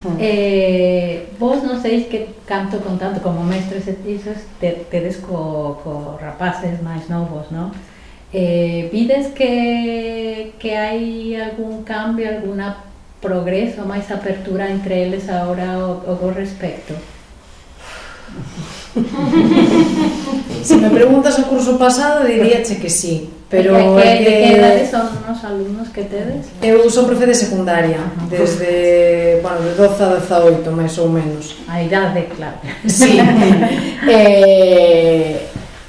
Vos non sei que canto con tanto como mestres e isos tedes co rapaces máis novos, non? Vides que hai algún cambio, alguna progreso, máis apertura entre eles agora ao respecto? Se me preguntas o curso pasado diríache que sí, pero que edades son os alumnos que tedes? Eu son profe de secundaria, desde, bueno, de 12 a 18, máis ou menos. A idade, claro. Sí.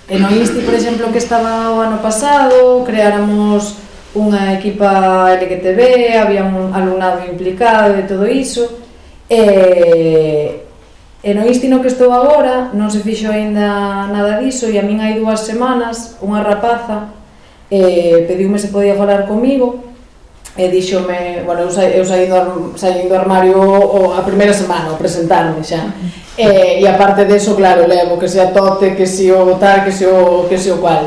E no ISTI, por exemplo, que estaba o ano pasado, creáramos unha equipa LGTB, había un alumnado implicado e todo iso. E no ISTI no que estou agora non se fixo aínda nada diso, e a min hai 2 semanas unha rapaza pediume se podía falar comigo e díxome, bueno, eu saí do armario a primeira semana, ao presentarme xa, e aparte deso, claro, levo que se a tote, que se o tal, que se o cual,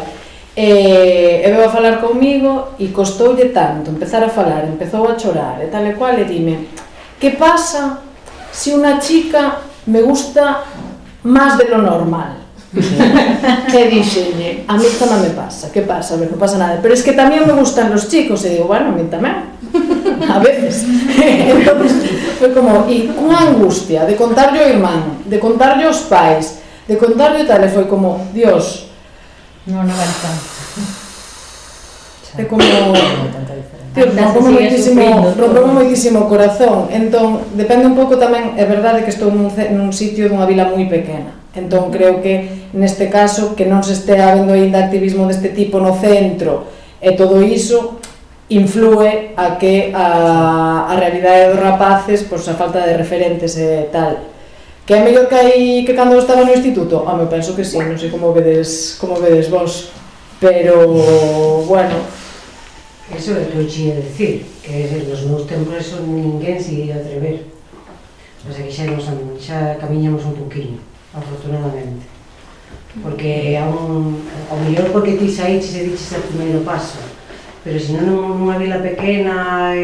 e veu a falar comigo e costoulle tanto empezar a falar, empezou a chorar e tal e cual, e dime, que pasa se unha chica me gusta máis de lo normal? E dixenlle, a mí tamén me pasa, que pasa? A ver, non pasa nada, pero es que tamén me gustan los chicos, e digo, bueno, a mí tamén, a veces. Entón, foi como, e cunha angustia de contarlle ao irmán, de contarlle aos pais, de contarlle tal, e foi como, Dios, non vai tanto. É como, Dios, rompeu moitísimo o corazón. Entón, depende un pouco tamén, é verdade que estou nun sitio dunha vila moi pequena, entón creo que neste caso que non se estea vendo ainda activismo deste tipo no centro e todo iso influe a que a realidade dos rapaces, pois a falta de referentes e tal, que é mellor que cando estaba no instituto. Eu penso que sí, non sei como vedes vos, pero bueno. Eso é o que eu xía decir, que nos meus tempos eso ninguén se ia atrever. O sea, que xa camiñamos un poquinho, afortunadamente. Porque ao mellor porque ti saíches e diches o primeiro paso, pero se non nunha vila pequena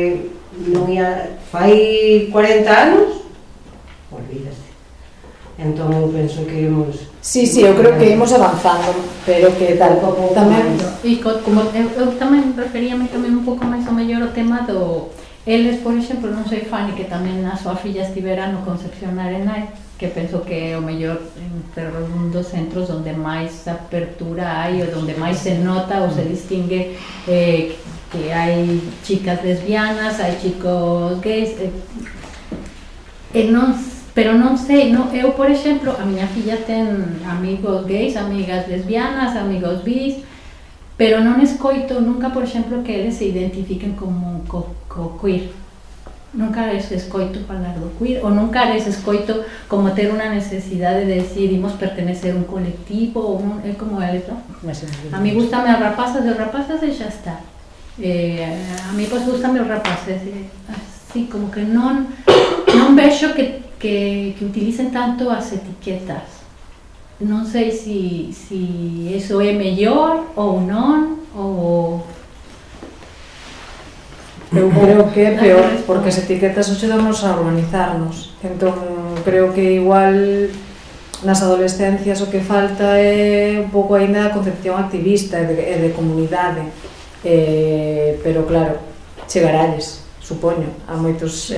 non ia fai 40 anos, olvídate. Entón eu penso que íamos... Sí, eu creo que ímos avanzando, pero que tal tamén... E como eu tamén referíame tamén un pouco máis ao mellor o tema do... Eles, por exemplo, non sei Fanny, que tamén a súa filla estivera no Concepción Arenal, que penso que é o mellor entre un dos centros onde máis apertura hai, ou onde máis se nota ou se distingue que hai chicas lesbianas, hai chicos gays, pero non sei, eu, por exemplo, a miña filla ten amigos gays, amigas lesbianas, amigos bis, pero non escoito nunca, por exemplo, que eles se identifiquen como queer. Nunca les escoito falar do queer, ou nunca les escoito como ter unha necesidade de decir, imos pertenecer a un colectivo, ou é como eles, non? A mí gustame as rapazas e xa está. A mí, pois, gustame os rapaces, así, como que non vexo que utilicen tanto as etiquetas. Non sei se iso é mellor ou non, ou... Eu creo que é peor, porque as etiquetas axudamos a organizarnos. Entón, creo que igual nas adolescencias o que falta é un pouco aínda a concepción activista e de comunidade. Pero claro, chegaralles, supoño, a moitas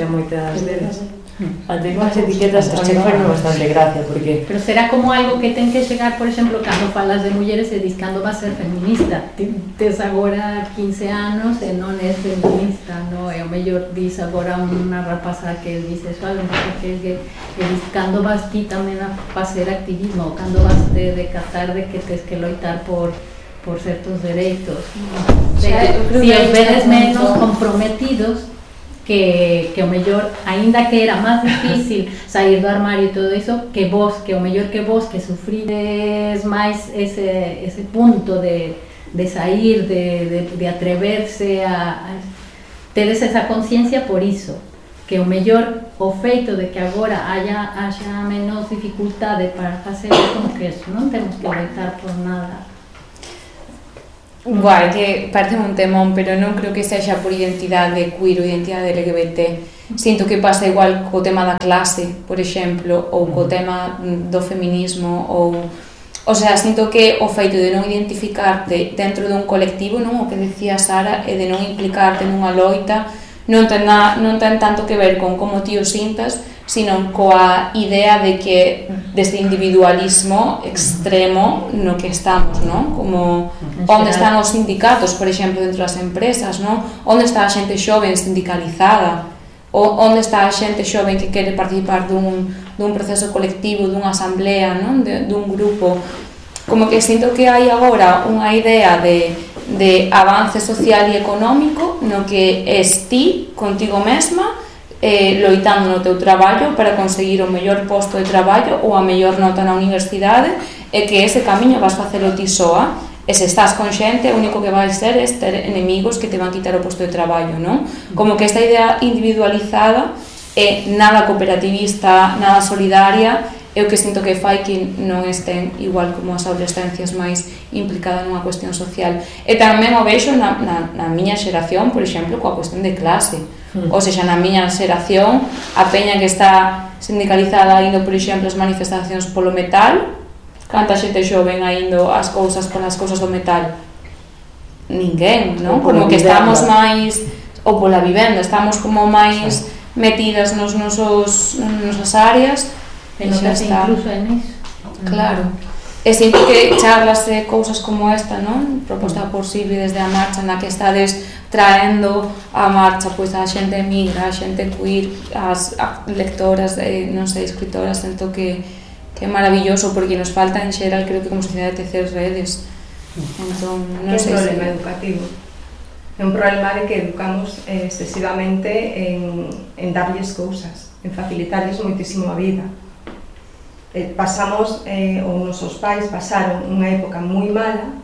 delas. Antes as etiquetas a mí fai bastante gracia, porque... Pero será como algo que ten que chegar, por exemplo, cando falas de mulleres e dis cando vas ser feminista. Tes agora 15 anos e non és feminista, non? E o mellor dis agora unha rapaza que dices, un rapaza que é gay, e dis cando vas ti tamén a facer activismo, ou cando vas de catar de que tes que loitar por certos dereitos. Se os vedes menos comprometidos, que o mellor, aínda que era máis difícil sair do armario e todo iso, que o mellor que vos que sufrides máis ese punto de sair, de atreverse a tedes esa conciencia por iso, que o mellor o feito de que agora haxa menos dificultade para facer como que eso, non temos que loitar por nada. Guai, que parece un temón, pero non creo que sexa por identidade queer ou identidade LGBT Sinto que pasa igual co tema da clase, por exemplo, ou co tema do feminismo, o sea, sinto que o feito de non identificarte dentro dun colectivo, non, o que decía Sara, e de non implicarte nunha loita, non ten tanto que ver con como ti o sintas, sino coa idea de que deste individualismo extremo no que estamos, non? Como onde están os sindicatos, por exemplo, dentro das empresas, non? Onde está a xente xoven sindicalizada? Onde está a xente xoven que quere participar dun proceso colectivo, dunha asamblea, non? Dun grupo? Como que sinto que hai agora unha idea de avance social e económico no que es ti, contigo mesma, loitando no teu traballo para conseguir o mellor posto de traballo ou a mellor nota na universidade, e que ese camiño vas facelo ti soa, e se estás con xente, o único que vais ser é ter enemigos que te van quitar o posto de traballo, non? Como que esta idea individualizada é nada cooperativista, nada solidaria, é o que sinto que fai que non estén igual como as adolescencias máis implicadas nunha cuestión social. E tamén o vexo na miña xeración, por exemplo, coa cuestión de clase. Ou seja, na miña xeración, a peña que está sindicalizada indo, por exemplo, as manifestacións polo metal, canta xente xoven indo as cousas polas cousas do metal? Ninguén, non? Como que estamos máis, ou pola vivenda, estamos como máis metidas nosas áreas. E non que incluso en iso. Claro. E sinto que charlas de cousas como esta, non? Proposta por Silvi desde a marcha, na que estades traendo a marcha pois a xente migra, a xente queer, as lectoras, non sei, escritoras, sinto que é maravilloso, porque nos falta en xeral, creo que como sociedade, tecer redes. Entón, non sei se... É un problema educativo. É un problema de que educamos excesivamente en darlles cousas, en facilitarlles moitísimo a vida. Pasamos, ou nosos pais pasaron unha época moi mala,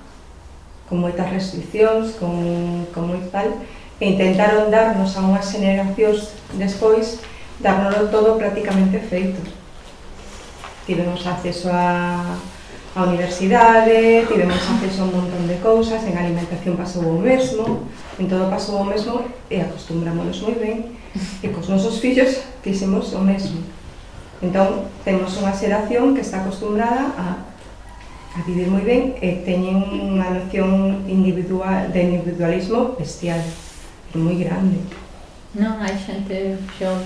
con moitas restriccións, con moito tal, e intentaron darnos a unhas generacións despois, dárnoslo todo prácticamente feito. Tivemos acceso a universidade, tivemos acceso a un montón de cousas, en alimentación pasou o mesmo, en todo pasou o mesmo, e acostumbrámonos moi ben, e cos nosos fillos fixemos o mesmo. Entón, temos unha xeración que está acostumbrada a vivir moi ben e teñen unha noción de individualismo bestial, moi grande. Non, hai xente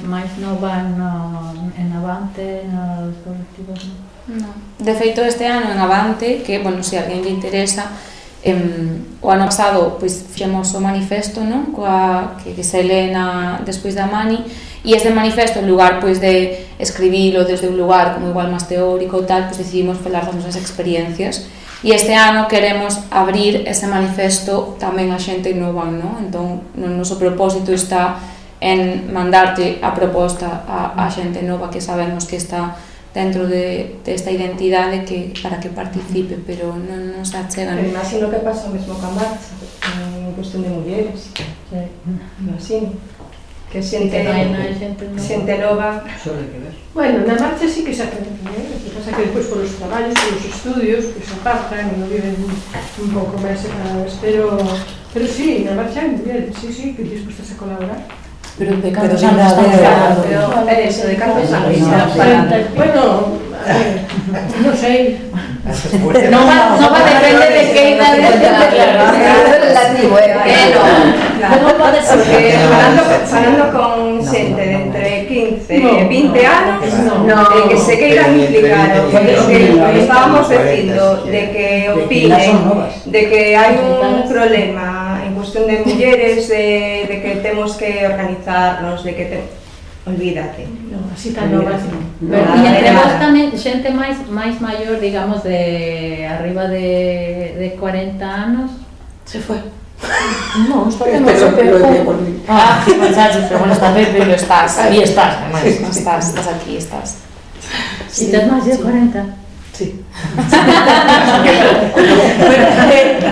máis nova en Avante, nos colectivos, non? De feito, este ano en Avante, que, bueno, se alguén lle interesa, o ano pasado, pois, fixemos o manifesto, non? Que se lee despois da Mani, e este manifesto, en lugar pois de escribilo desde un lugar como igual máis teórico ou tal, pois decidimos falar das nosas experiencias, e este ano queremos abrir ese manifesto tamén a xente nova, non? Entón, o noso propósito está en mandarte a proposta a xente nova que sabemos que está dentro desta identidade para que participe, pero non se achegan. Pero imagino que pasa o mesmo ca marcha, en cuestión de mulleres. Imagino. Que xente nova... Solo hai que ver. Bueno, na marcha sí que se aprende, o que pasa que despois polos traballos, polos estudios, que se apartan e non viven un pouco máis separadas, pero sí, na marcha hai mulleres, sí, que dispostas a colaborar. Pero de cantos anos estamos falando? Pero eso, de cantos anos estamos falando? Bueno, a ver, non sei. Non va depende de que idade relativo, non pode ser que falando con xente de entre 15 e 20 anos que se queiran implicar o que estábamos dicindo de que opinen de que hai un problema en cuestión de mulleres, de que temos que organizarnos, de que olvídate. Non, así tan novas non. E entre vos tamén xente máis maior, digamos, de arriba de 40 anos. Se foi. No, está bien, Muchachos, pero bueno, está Pepe, pero estás, aí estás, además, estás aquí, estás. Si estás máis de 40. Sí. Bueno,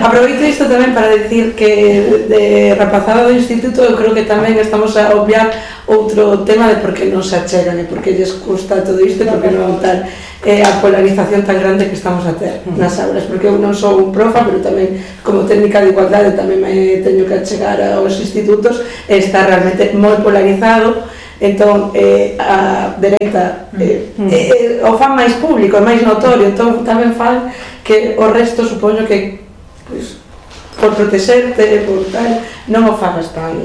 aproveito isto tamén para decir que de rapazada do instituto eu creo que tamén estamos a obviar outro tema de por que non se achegan e por que lles custa todo isto e por que non tal a polarización tan grande que estamos a ter nas aulas, porque eu non sou un profa, pero tamén como técnica de igualdade tamén me teño que achegar aos institutos e está realmente moi polarizado entón a dereita o fan máis público, é máis notorio, entón tamén fan que o resto supoño que pois, por protexerte, por tal, non o fagas tan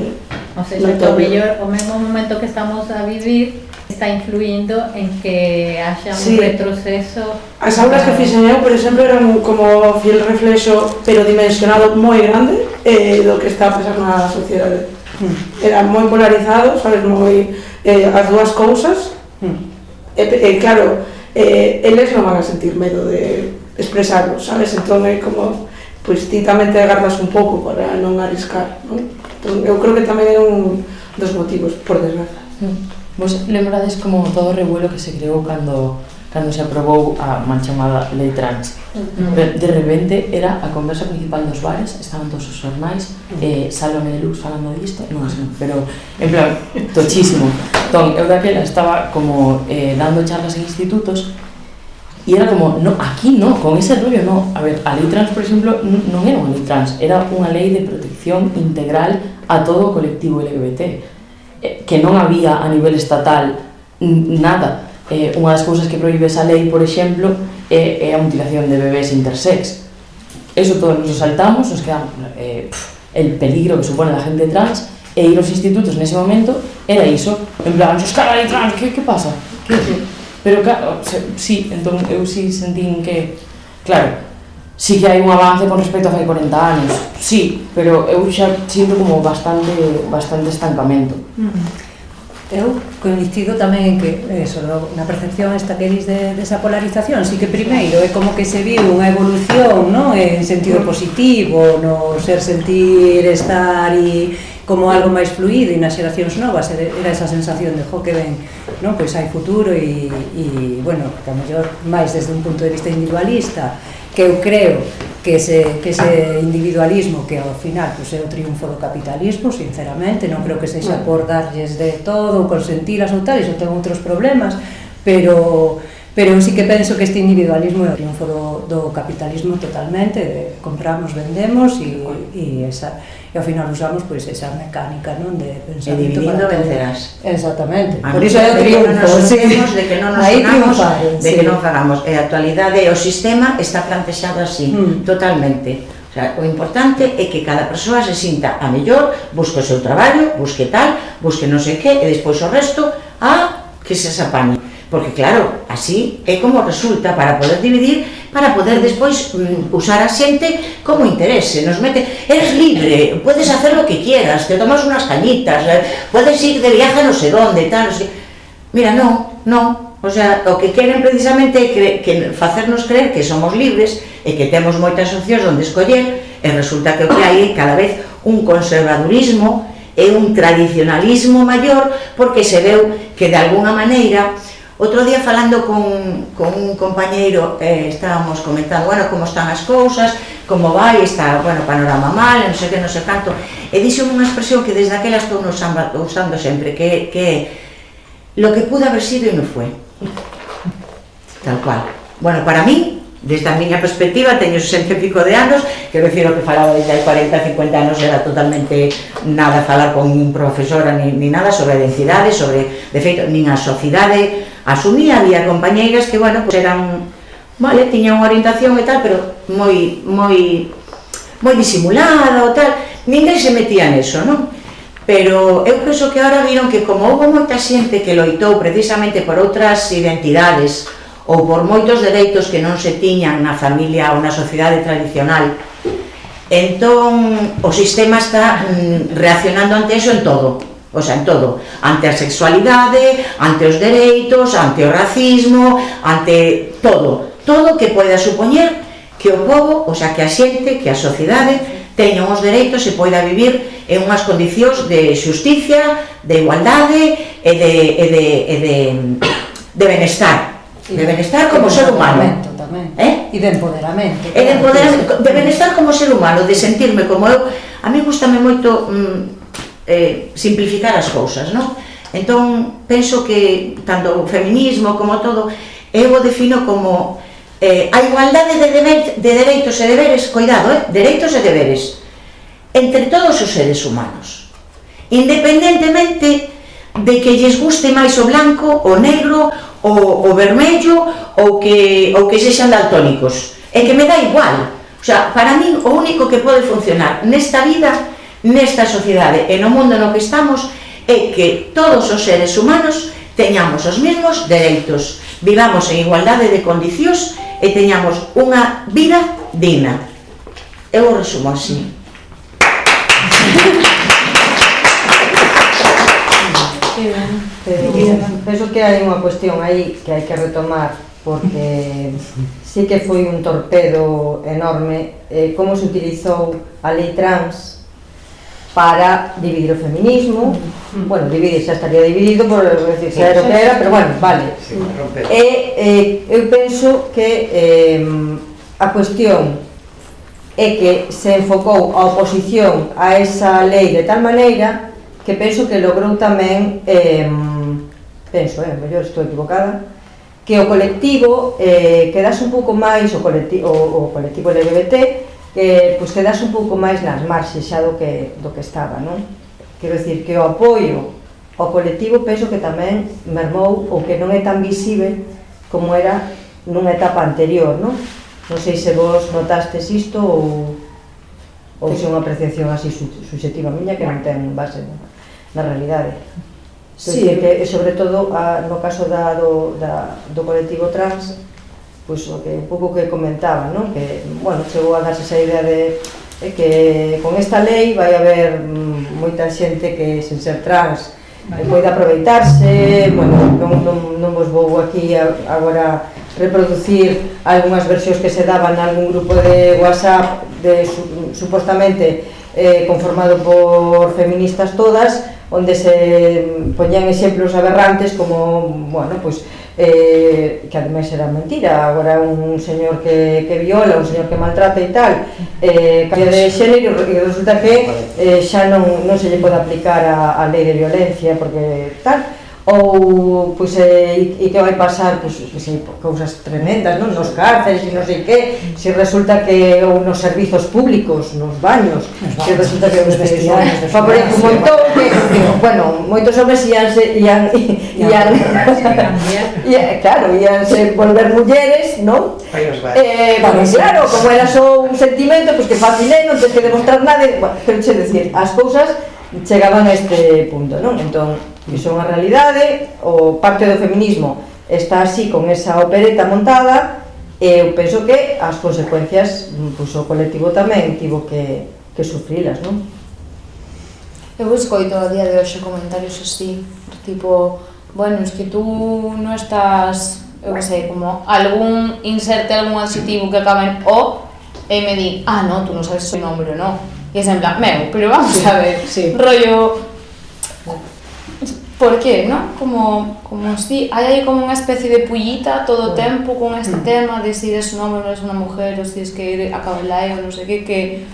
o sea, o mellor, o mesmo momento que estamos a vivir está influindo en que haxa un retroceso. As aulas que fixen eu, por exemplo, eran como fiel reflexo, pero dimensionado moi grande do que está a pasar na sociedade. Era moi polarizado, sabes, moi as dúas cousas. E claro, eles non van a sentir medo de expresarlo, sabes? Entón é como, pois ti tamén te agardas un pouco para non arriscar, non? Entón, eu creo que tamén é un dos motivos, por desgracia. Vos lembrades como todo o revuelo que se creou cando se aprobou a mal chamada lei trans. De repente era a conversa principal dos bares, estaban todos os xornais, Sálvame de Luz falando disto, non sei, pero en plan, tochísimo. Entón, eu daquela estaba como dando charlas en institutos e era como, no, aquí no, con ese rollo no. A ver, a lei trans, por exemplo, non era unha lei trans, era unha lei de protección integral a todo o colectivo LGBT, que non había a nivel estatal nada. Unha das cousas que proíbe esa lei, por exemplo, é a mutilación de bebés intersex. Eso todos nos saltamos, nos quedamos el peligro que supone a gente trans, e ir aos institutos nese momento era iso, en plan, "Escala lei trans, que pasa?" Pero claro, sí, entón eu sí sentín que, claro, sí que hai un avance con respecto a fai 40 anos, sí, pero eu xa sinto como bastante estancamento. Eu coincido tamén en que eso, na percepción esta que dis desa polarización, sí que primeiro é como que se viu unha evolución, non? En sentido positivo, no sentir estar e como algo máis fluido, e nas xeracións novas era esa sensación de que ben, non? Pois hai futuro e bueno, que a mellor máis desde un punto de vista individualista, que eu creo que ese individualismo que ao final pues, é o triunfo do capitalismo, sinceramente, non creo que sexa por darlles de todo, consentilas ou tal, iso ten outros problemas, pero sí que penso que este individualismo é o triunfo do capitalismo totalmente, de compramos, vendemos e ao final usamos pois esa mecánica, non, de pensamento. E dividindo vencerás. Exactamente. Por iso é o triunfo, de que non nos unamos, de que non fagamos. E a actualidade, o sistema está plantexado así, totalmente. O sea, o importante é que cada persoa se sinta a mellor, busque o seu traballo, busque tal, busque non sei que, e despois o resto que se apañe. Porque claro, así é como resulta para poder dividir, para poder despois usar a xente como interese, nos mete, eres libre, puedes hacer lo que quieras, te tomas unas cañitas, puedes ir de viaje no sé dónde, tal, no sé. Mira, no, o sea, o que queren precisamente é facernos creer que somos libres e que temos moitas opcións onde escoller, e resulta que o que hai é cada vez un conservadurismo e un tradicionalismo maior, porque se veu que de alguna maneira. Outro día falando con un compañeiro estábamos comentando, bueno, como están as cousas, como vai, está, bueno, panorama mal, non sei que, non sei canto, e dixo unha expresión que desde aquela estou usando sempre, que lo que pudo haber sido e non foi. Tal cual. Bueno, para mí, desde a miña perspectiva, teño 60 e pico de anos, quero dicir, o que falaba desde hai 40, 50 anos era totalmente nada falar con un profesora ni nada sobre a identidade, sobre, de feito, nin a sociedade asumía, había compañeiras que, bueno, pues eran, vale, tiñan unha orientación e tal, pero moi disimulada ou tal, ninguén se metía neso, non? Pero eu penso que agora viron que como houve moita xente que loitou precisamente por outras identidades ou por moitos dereitos que non se tiñan na familia ou na sociedade tradicional, entón o sistema está reaccionando ante eso en todo, o sea, en todo, ante a sexualidade, ante os dereitos, ante o racismo, ante todo que poida supoñer que o povo, o sea, que a xente, que a sociedade teña uns dereitos e poida vivir en unhas condicións de xusticia, de igualdade e de benestar. De benestar como ser humano. E de empoderamento. De benestar como ser humano, de sentirme como eu. A mí gustame moito simplificar as cousas, non? Entón, penso que tanto o feminismo como todo, eu o defino como a igualdade de dereitos e deberes, cuidado, dereitos e deberes, entre todos os seres humanos, independentemente de que lles guste máis o blanco, o negro, o vermello ou que sexan daltónicos. É que me dá igual. O sea, para min o único que pode funcionar nesta vida, nesta sociedade e no mundo no que estamos é que todos os seres humanos teñamos os mesmos dereitos, vivamos en igualdade de condicións e teñamos unha vida digna. Eu o resumo así. Penso que hai unha cuestión aí que hai que retomar, porque sí que foi un torpedo enorme como se utilizou a lei trans para dividir o feminismo. Bueno, dividir, xa estaría dividido por decir que era o que era, pero bueno, vale. Eu penso que a cuestión é que se enfocou a oposición a esa lei de tal maneira que penso que logrou tamén, penso, mellor estou equivocada, que o colectivo quedase un pouco máis, o colectivo LGBT, pois quedase un pouco máis nas marxes xa do que estaba, non? Quero dicir que o apoio ao colectivo penso que tamén mermou ou que non é tan visible como era nunha etapa anterior, non? Non sei se vos notastes isto ou se é unha apreciación así subjetiva miña que non ten base na realidade. Sí, que sobre todo no caso do colectivo trans, pois o que un pouco que comentaba, non? Que, bueno, chegou a darse esa idea de que con esta lei vai haber moita xente que sen ser trans pode aproveitarse. Bueno, non vos vou aquí agora reproducir algunhas versións que se daban nalgún grupo de WhatsApp supostamente conformado por feministas todas, onde se poñían exemplos aberrantes como, bueno, pois que ademais era mentira, agora un señor que viola, un señor que maltrata e tal, cambia de xénero e resulta que xa non se lle pode aplicar a lei de violencia porque tal, ou pois e que vai pasar, pois cousas tremendas, non? Nos cárceles e non sei que, se resulta que ou nos servizos públicos, nos baños, se resulta que os vestidos favorece un montón, que, bueno, moitos homens ianse volver mulleres, non? Claro, como era só un sentimento, pois que fácil é, non tens que demostrar nada, pero che decir, as cousas chegaban a este punto, non? Entón, iso é unha realidade, o parte do feminismo está así con esa opereta montada e eu penso que as consecuencias, pois o colectivo tamén tivo que sufrilas, non? Eu escoito a día de hoxe comentarios así, tipo, bueno, es que tú non estás, eu que sei, como algún inserte algún adxetivo que acaba en o e me di, no, tú non sabes o nombre, non? E é en plan, pero vamos a ver, rollo, por qué, non? Como si hai aí como unha especie de pullita todo o tempo con este tema de si eres un hombre ou eres unha mujer ou si es que ir a cabelae ou non sei que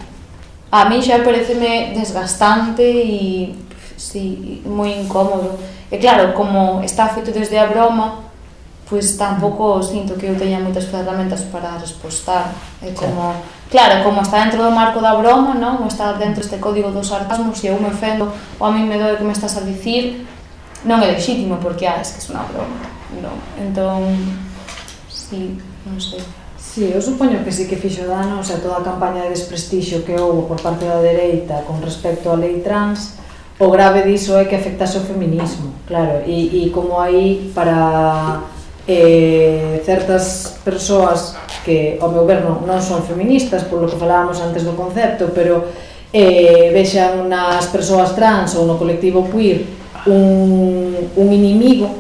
a mí xa pareceme desgastante e sí, moi incómodo. E claro, como está feito desde a broma, pois tampouco sinto que eu teña moitas ferramentas para respostar. É como, claro, como está dentro do marco da broma, non? Ou está dentro deste código dos sarcasmos, se eu me ofendo ou a mí me doe que me estás a dicir, non é legítimo porque, es que é unha broma, non? Entón, sí, non sei. Sí, eu supoño que sí que fixo dano, o sea, toda a campaña de desprestixio que houve por parte da dereita con respecto á lei trans, o grave diso é que afectase o feminismo, claro, e como aí para certas persoas que, ao meu ver, non son feministas, polo que falábamos antes do concepto, pero vexan nas persoas trans ou no colectivo queer un inimigo,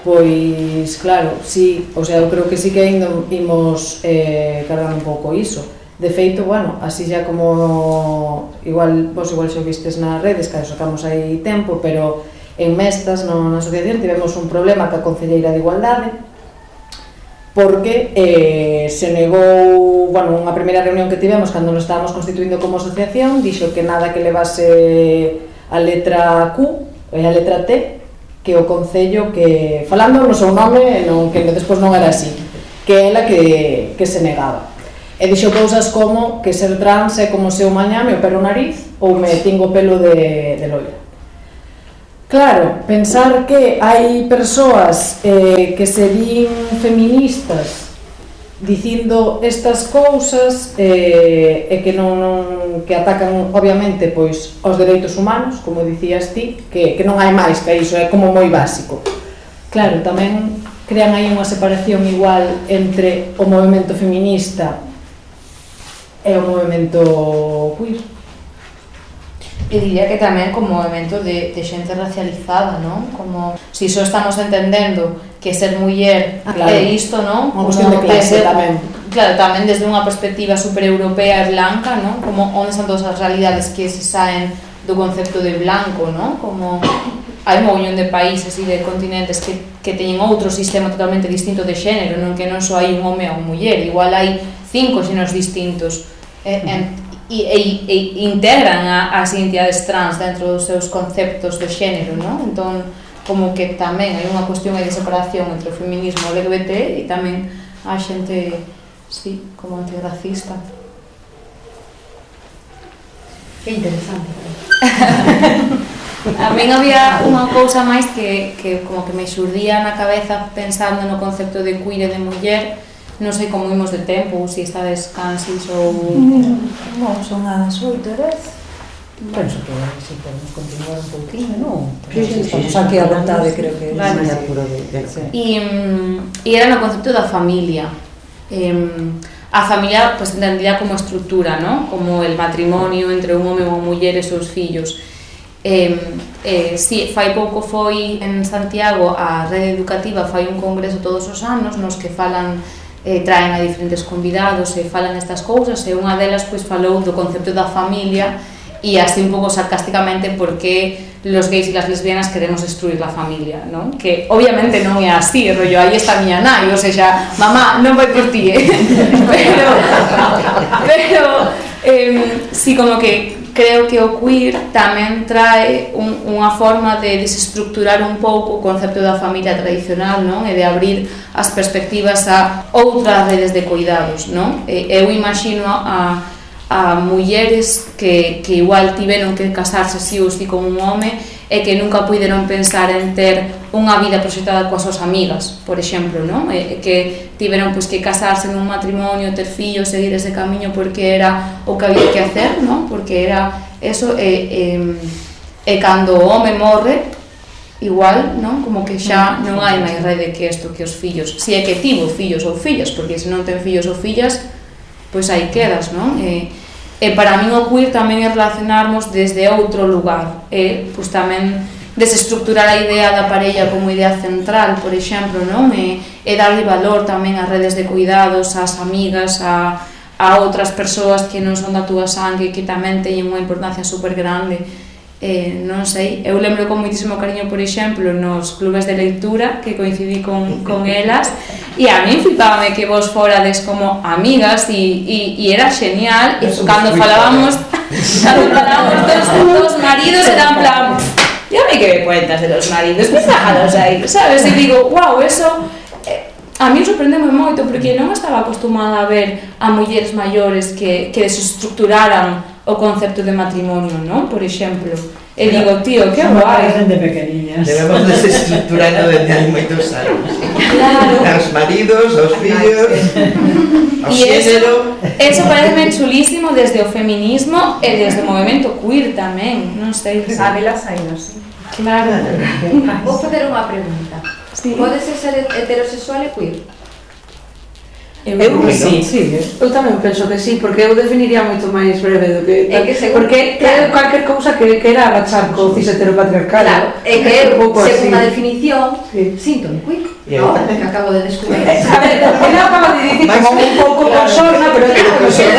pois claro, sí, o sea, eu creo que sí que ainda imos cargar un pouco iso. De feito, bueno, así xa como vos igual xa vistes nas redes, que sacamos aí tempo, pero en Mestas, na asociación, tivemos un problema ca Concelleira de Igualdade porque se negou, bueno, unha primeira reunión que tivemos cando nos estábamos constituindo como asociación, dixo que nada que levase a letra Q e a letra T, que o Concello, que falando no seu nome, que despois non era así, que ela que se negaba. E dixo cousas como que ser trans é como se eu mañá me opero o nariz ou me tingo pelo de loira. Claro, pensar que hai persoas que se din feministas dicindo estas cousas e que non que atacan obviamente pois os dereitos humanos, como dicías ti, que non hai máis que iso, é como moi básico. Claro, tamén crean aí unha separación igual entre o movemento feminista e o movemento queer. E diría que tamén como movimento de xente racializada, non? Como, si só estamos entendendo que ser muller é isto, non? Unha cuestión de clase tamén. Claro, tamén desde unha perspectiva supereuropea e blanca, non? Como onde están todas as realidades que se saen do concepto de blanco, non? Como hai un mogollón de países e de continentes que teñen outro sistema totalmente distinto de xénero, non? Que non só hai un home ou unha muller, igual hai 5 xéneros distintos e integran as identidades trans dentro dos seus conceptos de xénero, non? Entón, como que tamén hai unha cuestión de separación entre o feminismo LGBT e tamén a xente, sí, como antirracista. Que interesante. A min había unha cousa máis que como que me xurdía na cabeza pensando no concepto de queer e de muller. Non sei como imos de tempo, se estades cansis ou... Non, son as 8 horas. Penso que se podemos continuar un pouquinho, non? Estamos aquí a vontade, creo que... E era no concepto da familia. A familia, pues, entendida como estrutura, non? Como el matrimonio entre un home e unha muller e seus fillos. Si, fai pouco foi en Santiago a rede educativa fai un congreso todos os anos nos que falan traen a diferentes convidados e falan estas cousas e unha delas pois falou do concepto da familia e así un pouco sarcásticamente porque los gays e las lesbianas queremos destruir la familia, non? Que obviamente non é así, rollo, aí está a miña nai, ou seja, mamá, non vai por ti, pero sí, como que creo que o queer tamén trae unha forma de desestructurar un pouco o concepto da familia tradicional, non? E de abrir as perspectivas a outras redes de cuidados, non? Eu imagino a mulleres que igual tiveron que casarse así ou así con un home e que nunca puideron pensar en ter unha vida proxectada coas súas amigas, por exemplo, non? E que tiveron pois, que casarse nun matrimonio, ter fillos, seguir ese camiño porque era o que había que hacer, non? Porque era eso, e cando o home morre, igual, non? Como que xa non hai máis rede que isto que os fillos, se é que tivo fillos ou fillas, porque se non ten fillos ou fillas, pois aí quedas, non? E para min o queer tamén é relacionarnos desde outro lugar, pois tamén desestructurar a idea da parella como idea central, por exemplo, non? E darlle valor tamén ás redes de cuidados, ás amigas, a outras persoas que non son da túa sangue, que tamén teñen unha importancia super grande. Non sei, eu lembro con moitísimo cariño, por exemplo, nos clubes de leitura que coincidí con elas e a mí flipábame que vos forades como amigas e era genial e cando falábamos dos maridos era en plan ya me que me cuentas de los maridos, déjalos aí, sabes? E digo, wow, eso a mí sorprendeme moito porque non estaba acostumada a ver a mulleres maiores que desestructuraran o concepto de matrimonio, non? Por exemplo. E digo, tío, que guai. Desde pequeniñas. Debemos desestruturando desde hai moitos anos. Claro. Aos maridos, aos fillos, ao xénero. Eso parece chulísimo desde o feminismo e desde o movimento queer tamén, non sei. Sábelas aí, non sei. Claro. Vou facer unha pregunta. Pode ser heterosexual e queer? Eu tamén penso que sí, porque eu definiría moito máis breve do que porque é cualquier cousa que quera agachar co cis heteropatriarcal. Claro, é que según a definición síntome queer, no? Que acabo de descubrir. A ver, porque non acabo de dicir como un pouco por sorna, pero non sei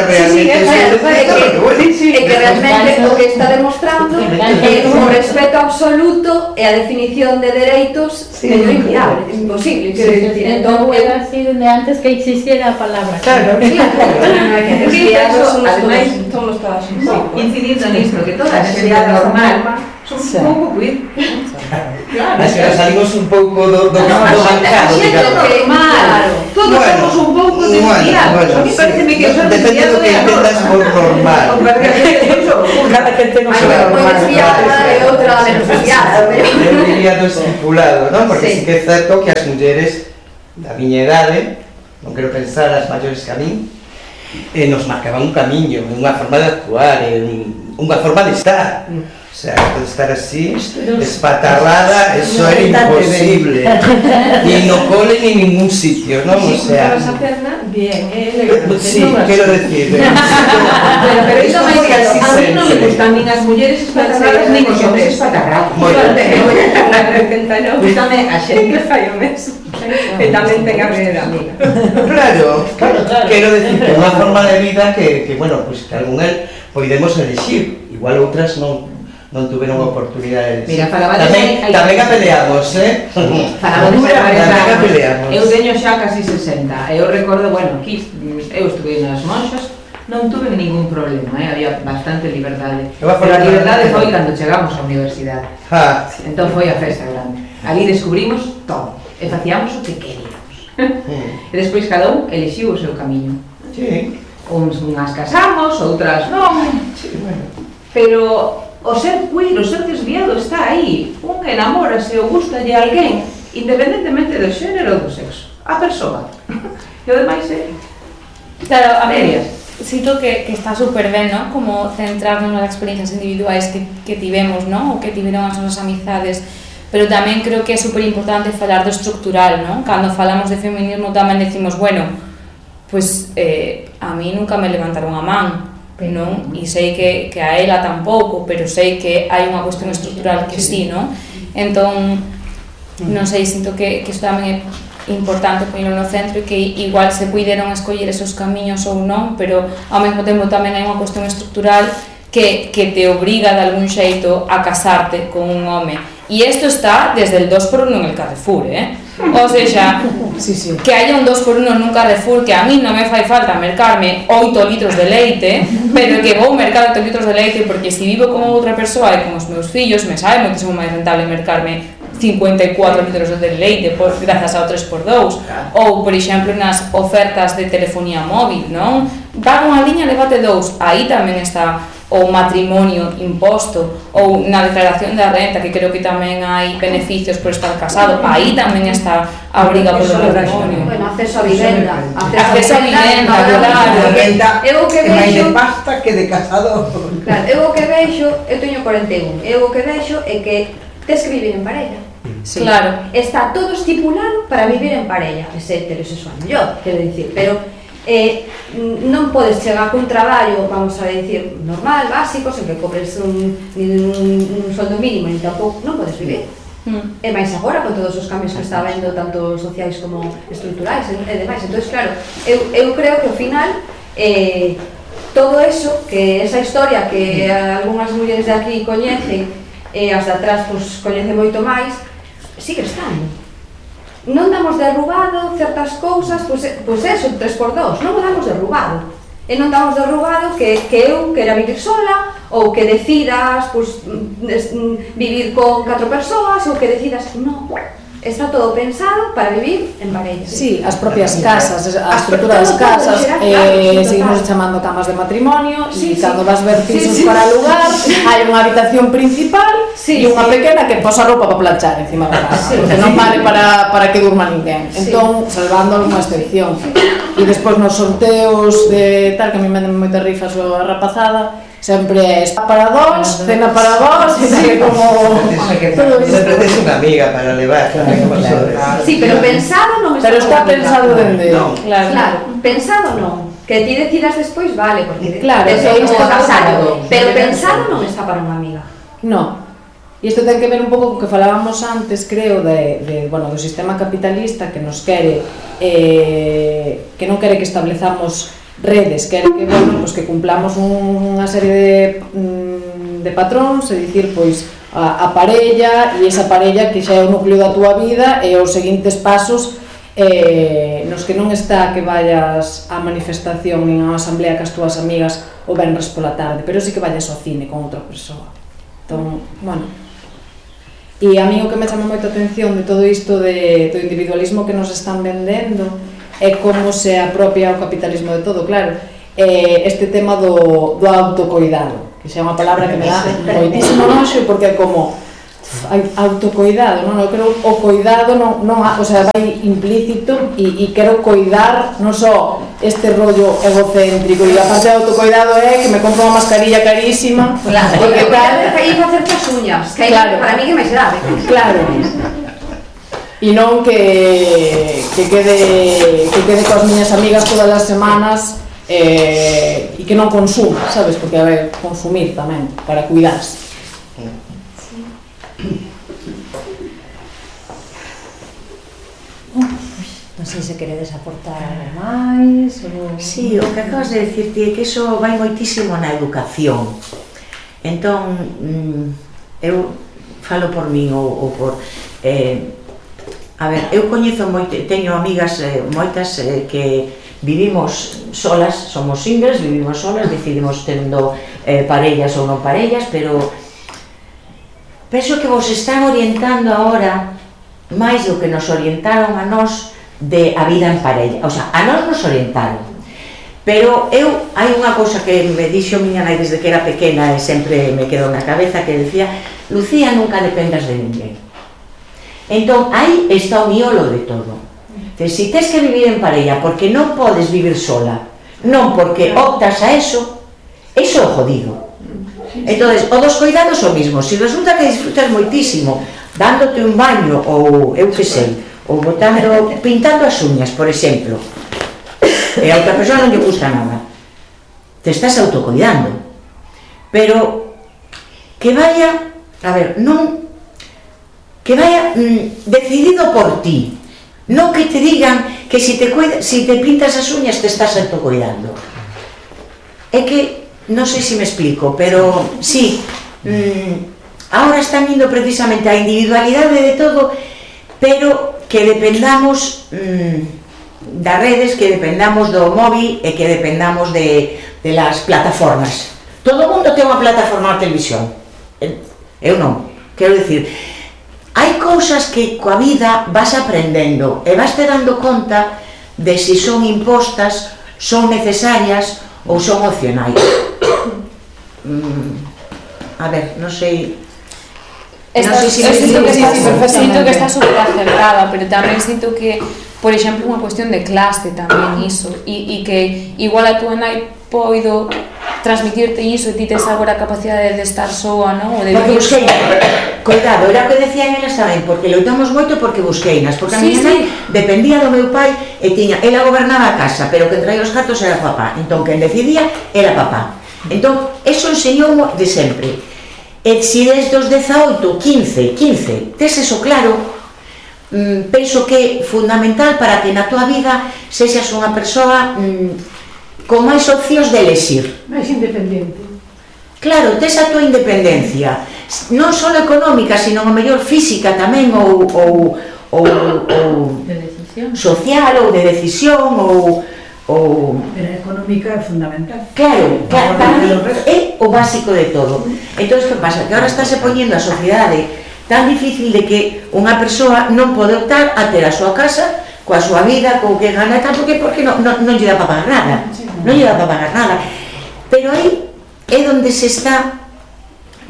realmente é que realmente o que está demostrando é o respeto absoluto e a definición de dereitos é inviable, é imposible. Entón, hubiera sido de antes que existiera a palabra. Claro, además somos todas incidindo nisto, que toda a xente normal somos un pouco queer. Mas que salimos un pouco do bancado, digamos. Todo todos somos un pouco desviados. A mí pareceme que son depende do que entendas por normal. Cada que ten o seu normal. E outra menos desviada. Eu diría do estipulado, non? Porque sí que é certo que as mulleres da miña idade, non quero pensar as maiores que a min, nos marcaban un camiño, unha forma de actuar, unha forma de estar. O sea, de estar así, espatarrada, eso era imposible. Ni no cole ni en ningún sitio, ¿no? O sea... Si esa perna, bien, sí, quiero decir... Pero iso máis que a mí non me gustan nin as mulleres espatarradas nin os homes espatarrados. Gústame a xente que fai o mesmo. E tamén ten a ver amiga. Claro, quero decir que é unha forma de vida que bueno, pues que algún podemos elegir, igual outras non tuveron oportunidade de elegir. Mira, tamén a peleamos, Falamos de tamén a peleamos. Eu teño xa casi 60, eu recordo, bueno, aquí eu estuve nas Monxas, non tuve ningún problema, había bastante liberdade. Pero a liberdade foi cando chegamos á universidade. Entón foi a festa grande. Ali descubrimos todo, e facíamos o que queríamos. E despois cada un elixiu o seu camiño. Unhas casamos, outras non. Pero o ser queer, o ser desviado está aí. Un enamórase ou gustalle a alguén, independentemente do xénero ou do sexo. A persoa. E o demais é... Claro, a ver, sinto que está super ben, non? Como centrarnos nas experiencias individuais que tivemos, non? O que tiveron as nosas amizades. Pero tamén creo que é super importante falar do estructural, non? Cando falamos de feminismo tamén decimos, bueno, pues a mí nunca me levantaron a man, non? E sei que a ela tampouco, pero sei que hai unha cuestión estructural que sí, non? Entón, non sei, sinto que isto tamén é importante poñelo no centro e que igual se puideron escoller esos camiños ou non, pero ao mesmo tempo tamén hai unha cuestión estructural que te obriga de algún xeito a casarte con un home. E isto está desde el 2x1 en el Carrefour, O sea, que haya un 2x1 nun Carrefour que a mí non me fai falta mercarme 8 litros de leite, pero que vou mercar 8 litros de leite porque se vivo con outra persoa e con os meus fillos me sabe moitísimo máis rentable mercarme 54 litros de leite grazas ao 3x2 ou, por exemplo, nas ofertas de telefonía móvil, non? Paga unha liña, levate 2, aí tamén está o matrimonio imposto ou na declaración da renta, que creo que tamén hai beneficios por estar casado, aí tamén está a obriga polo matrimonio. Bueno, acceso a vivenda. Acceso a vivenda, claro. Eu o que vexo... máis de pasta que de casado. Claro, eu o que vexo, eu teño 41, eu o que vexo é que tes que vivir en parella. Sí. Claro. Está todo estipulado para vivir en parella, ese heterosexual mellor, quero dicir, pero non podes chegar cun traballo, vamos a decir, normal, básico, sen que cobres un soldo mínimo, ni tampouco, non podes vivir. E máis agora, con todos os cambios que está vendo, tanto sociais como estruturais e demais. Entón, claro, eu creo que ao final todo eso, que esa historia que algunhas mulleres de aquí coñecen e as de atrás coñecen moito máis, sigue estando. Non damos derrubado certas cousas, pois eso, 3x2, non o damos derrubado. E non damos derrubado que eu quera vivir sola, ou que decidas vivir con 4 persoas, ou que decidas, non. Está todo pensado para vivir en parella. Sí, as propias casas, a estrutura das casas, seguimos chamando camas de matrimonio, e cando vas ver pisos para alugar, hai unha habitación principal e unha pequena que posa roupa para planchar encima da casa, porque non vale para que durma ninguén. Entón, salvando algunha excepción. E despois nos sorteos de tal, que a mí me den moitas rifas a rapazada, sempre é para dos, cena para vos, e como... Sempre tes unha amiga para levar. Sí, pero pensado non está... Pero está pensado dende... Claro, pensado non. Que ti decidas despois, vale, porque... Claro, pero pensado non está para unha amiga. Non. E isto ten que ver un pouco co que falábamos antes, creo, do sistema capitalista que nos quere, que non quere que establezamos redes, quere que, pues que cumplamos unha serie de patróns, é dicir, pois, a parella, e esa parella que xa é o núcleo da túa vida e os seguintes pasos nos que non está que vayas á manifestación nin á asamblea cas túas amigas o venres pola tarde, pero sí que vayas ao cine con outra persoa. Entón, bueno, e a mí o que me chama moita atención de todo isto do individualismo que nos están vendendo é como se apropia o capitalismo de todo, claro. Este tema do autocoidado, que xa é unha palabra que me dá moitísimo noxo, porque é como autocoidado, non? Eu creo o coidado non, o sea, vai implícito e quero coidar non só este rollo egocéntrico, e a parte do autocoidado é que me compro unha mascarilla carísima, porque tal, e facer as uñas, que para mí que máis grave. Claro. E non que quede coas miñas amigas todas as semanas e que non consuma, sabes? Porque a ver, consumir tamén, para cuidarse. Non sei se queredes aportar algo máis ou... Sí, o que acabas de decirte é que iso vai moitísimo na educación. Entón, eu falo por min ou por... a ver, eu coñezo teño amigas moitas que vivimos solas, somos singles, vivimos solas, decidimos tendo parellas ou non parellas, pero penso que vos están orientando agora máis do que nos orientaron a nós de a vida en parella, o sea, a nós nos orientaron, pero hai unha cousa que me dixo miña nai desde que era pequena e sempre me quedou na cabeza, que decía: Lucía, nunca dependas de ninguén. Entón, aí está o miolo de todo. Si tes que vivir en parella porque non podes vivir sola, non porque optas a eso é jodido. Entón, o dos cuidados o mismo. Si resulta que disfrutas moitísimo dándote un baño ou eu que sei, ou pintando as uñas, por exemplo, e a outra persoa non lle gusta nada, te estás autocuidando, pero que vaya, a ver, non que vaya decidido por ti, non que te digan que si te pintas as uñas te estás autocuidando. É que non sei se me explico, pero sí, agora están indo precisamente a individualidade de todo, pero que dependamos das redes, que dependamos do móvil e que dependamos de las plataformas. Todo o mundo ten unha plataforma na televisión, eu non, quero dicir, hai cousas que coa vida vas aprendendo e vas te dando conta de si son impostas, son necesarias ou son opcionais. A ver, non sei... Sinto que está super acertada, pero tamén sinto que, por exemplo, unha cuestión de clase tamén iso, e que igual a túa nai poido transmitirte iso e ti tes agora a capacidade de estar soa, non? Porque busqueinas, cuidado, era o que decían elas tamén, porque loitamos moito porque busqueinas, porque a miña nai dependía do meu pai e tiña, ela gobernaba a casa, pero que traía os gatos era papá, entón quen decidía era papá. Entón, eso enseñou de sempre. E se desde os 18, 15, tes eso claro, penso que é fundamental para que na tua vida sexas unha persoa con máis opcións de elexir. Máis independente. Claro, tes a tua independencia, non só económica, sino a mellor física tamén, ou social, ou de decisión, ou... Pero a económica é fundamental. Claro, para mí é o básico de todo. Entón, que pasa? Que agora estáse poñendo a sociedade tan difícil de que unha persoa non pode optar a ter a súa casa, coa súa vida, co que gana, porque non lle dá para pagar nada. Non lle dá para pagar nada. Pero aí é onde se está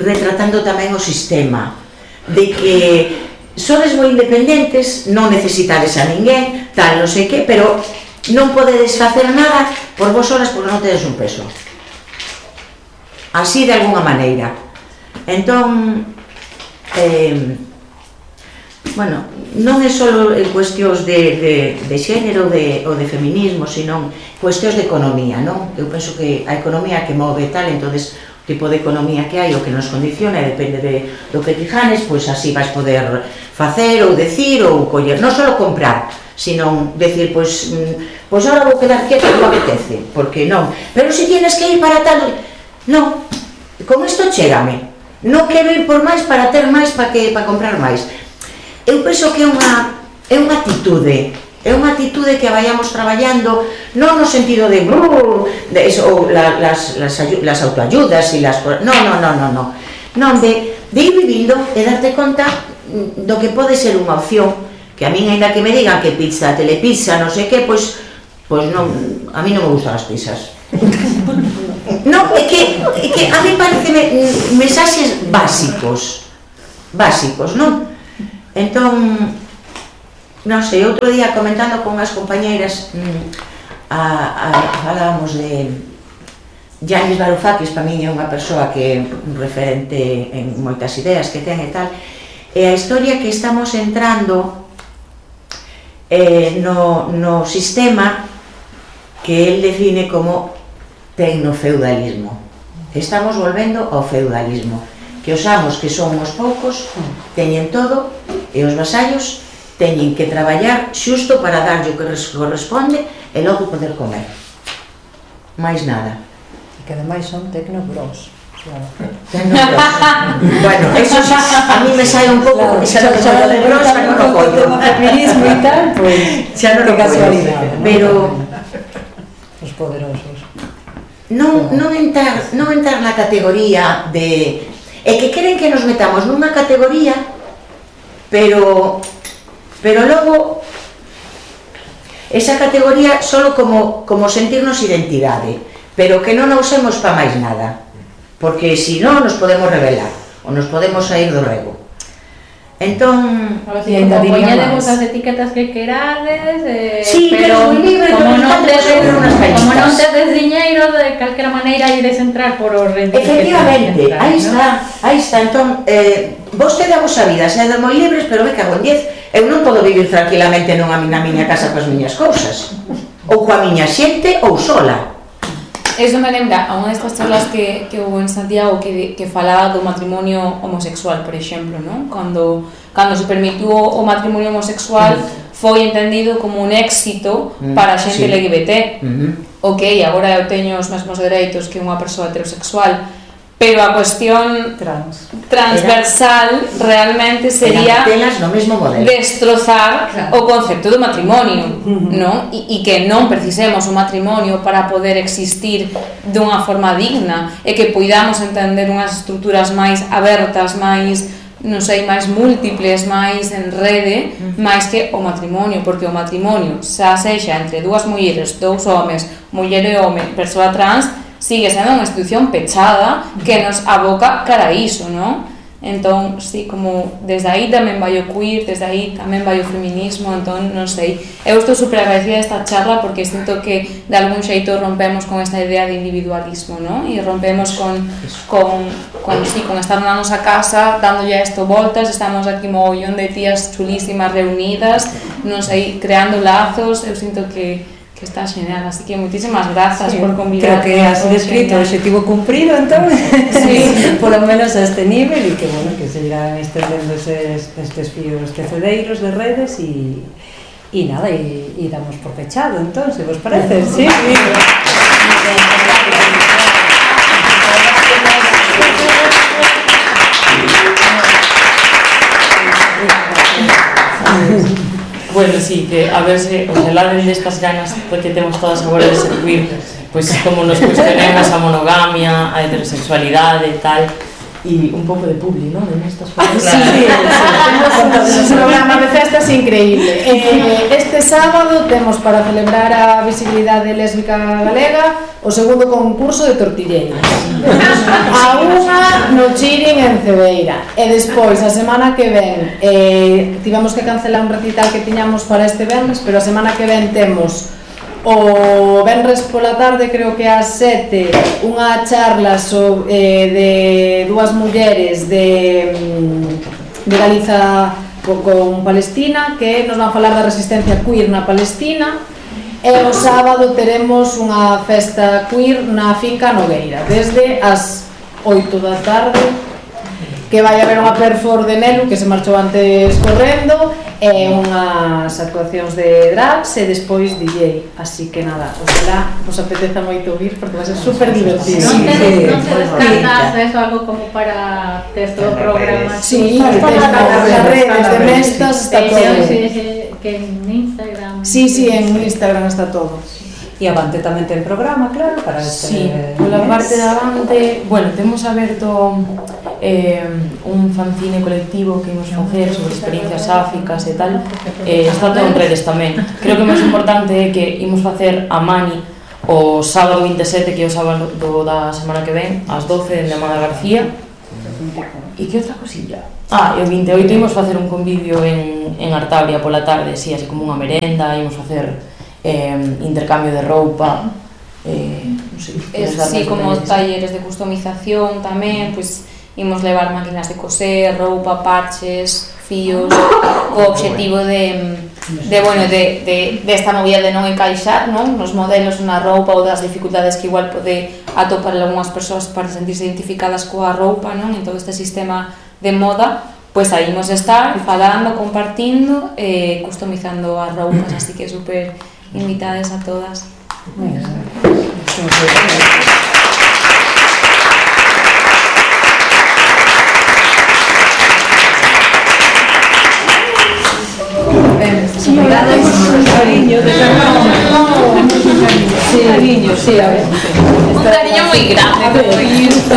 retratando tamén o sistema, de que sodes moi independentes, non necesitades a ninguén, tal, non sei que, pero non podedes facer nada por vos solas porque non tedes un peso. Así de alguna maneira. Entón, bueno, non é só en cuestións de xénero ou de feminismo, sino cuestións de economía, non? Eu penso que a economía que move tal, entonces o tipo de economía que hai, o que nos condiciona, depende do que tijanes, pois así vais poder facer ou decir ou coller, non só comprar, sino decir, pois ahora vou quedar quieta, non me apetece, porque non, pero se tienes que ir para tal, non, con isto chégame, non quero ir por máis para ter máis, para comprar máis. Eu penso que é unha actitude, que vayamos traballando, non no sentido de las autoayudas e las... Non, de ir vivindo e darte conta do que pode ser unha opción Que a min, ainda que me digan que pizza, telepizza, non sei que, pois non, a mí non me gustan as pizzas. Non, é que a mí parece mensaxes básicos, non? Entón, non sei, outro día comentando con as compañeiras falábamos de Yanis Varoufakis, para min é unha persoa que é un referente en moitas ideas que ten e tal, e a historia que estamos entrando no sistema que el define como tecnofeudalismo. Estamos volvendo ao feudalismo, que os amos que son os poucos teñen todo e os vasallos teñen que traballar xusto para darlle o que corresponde e logo poder comer. Mais nada. E que ademais son tecnobros. Tecnobros. Bueno, eso a mí me sai un pouco, xa non son tecnobros, xa non o collo. O feminismo e tal, pois, xa non o collo. Pero os poderosos. Non entrar na categoría de... É que queren que nos metamos nunha categoría, pero logo esa categoría solo como sentirnos identidade, pero que non a usemos para máis nada, porque se non nos podemos rebelar ou nos podemos sair do rego. Entón, poñedemos as etiquetas que querades, pero como non tedes diñeiro, de calquera maneira ides entrar por os rendimentos. Efectivamente, aí está. Entón, vostede a vosa vida, sede moi libres, pero me cago en 10, eu non podo vivir tranquilamente na miña casa coas miñas cousas, ou coa miña xente, ou sola. Eso me lembra a unha destas charlas que houve en Santiago que falaba do matrimonio homosexual, por exemplo, non? Cando se permitiu o matrimonio homosexual foi entendido como un éxito para a xente LGBT. Ok, agora eu teño os mesmos dereitos que unha persoa heterosexual, pero a cuestión transversal realmente sería destrozar o concepto do matrimonio, non? E que non precisemos o matrimonio para poder existir dunha forma digna e que poidamos entender unhas estruturas máis abertas, máis, non sei, máis múltiples, máis en rede, máis que o matrimonio, porque o matrimonio, xa sexa entre dúas mulleres, dous homes, muller e home, persoa trans, sigue sendo unha institución pechada que nos aboca cara a iso, non? Entón, sí, como desde aí tamén vai o queer, desde aí tamén vai o feminismo, entón, non sei. Eu estou super agradecida desta charla porque sinto que de algún xeito rompemos con esta idea de individualismo, non? E rompemos con estar na nosa casa, dándolle a isto voltas, estamos aquí mogollón de tías chulísimas reunidas, non sei, creando lazos, eu sinto que está genial, así que moitísimas grazas por convidar. Creo que has descrito o objetivo cumprido, entón, por lo menos a este nivel, e que, bueno, que se irán extendendo estes fíos tecedeiros de redes e nada, e damos por pechado, entón, se vos parece, sí. Bueno, sí, que a ver se os eladen destas ganas porque temos todas agora de ser queer, pois como nos cuestionemos a monogamia, a heterosexualidade e tal, e un pouco de publi, non? En estas cosas. Sí, temos un programa de festas increíble. Este sábado temos para celebrar a visibilidade lésbica galega o segundo concurso de tortilleiras. A unha no Chirin en Cebeira. E despois, a semana que ven, tivemos que cancelar un recital que tiñamos para este venres, pero a semana que ven temos o venres pola tarde, creo que ás 7, unha charla de dúas mulleres de Galiza con Palestina que nos van falar da resistencia queer na Palestina. E o sábado teremos unha festa queer na finca Nogueira desde as 8 da tarde, que vai haber unha perfor de Nelu que se marchou antes correndo e unhas actuacións de drags e despois DJ, así que nada, ojalá vos apeteza moito vir porque vai ser super divertido. Non te descartas eso, algo como para texto do programa? Sí, as redes de Mestas está todo. Que en Instagram. Sí, en Instagram está todo. E Avante tamén ten programa, claro, para este... Sí, pola parte de Avante, bueno, temos aberto un fanzine colectivo que imos facer sobre experiencias sáficas e tal, está todo en redes tamén. Creo que o máis importante é que imos facer a Mani o sábado 27, que é o sábado da semana que ven, ás 12, en Amada García. E que outra cosilla? E o 28 imos facer un convivio en Artabria pola tarde, así como unha merenda, imos facer intercambio de roupa, non sei, sí, como talleres de customización tamén, pois imos levar máquinas de coser, roupa, parches, fíos, co obxectivo de esta movida de non encaixar, non, nos modelos na roupa ou das dificultades que igual pode atopar algunhas persoas para sentirse identificadas coa roupa, non, en todo este sistema de moda. Pois aí imos estar falando, compartindo, customizando as roupas, así que super invitadas a todas. Cariño de cariño, sí, a ver. Un cariño moi grande, como isto.